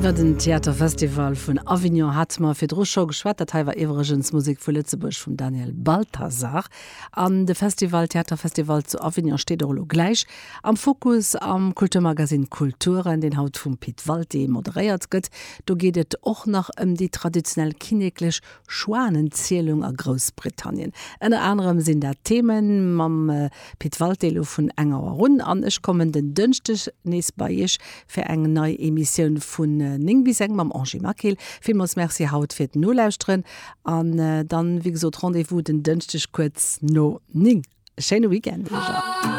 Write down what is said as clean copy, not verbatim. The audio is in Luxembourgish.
Iwwer den Theaterfestival vun Avignon hate mer virdru scho geschwat. Dat hei war iwwregens Musek vu Lëtzebuerg vum Daniel Balthasar. An de Festival, Theaterfestival zu Avignon steet och elo gläich am Fokus am Kulturmagasinn Kulturen, deen haut vum Pit Walté moderéiert gëtt. Do geet et och nach ëm déi traditionell kinneklech Schwanenzielung a Groussbritannien. Ënner anerem sinn dat Themen mam Pit Walté elo vun eng Auer un. An ech kommen den Dënschdeg nees bei Iech fir eng nei Emissioun vun 9 bis eng mam Angie Maquil. Villmools Merci haut fir d'Nolauschteren an dann, wéi gesot, Rendez-vous den Dënschdeg kuerz no 9. E schéine Weekend Iech all.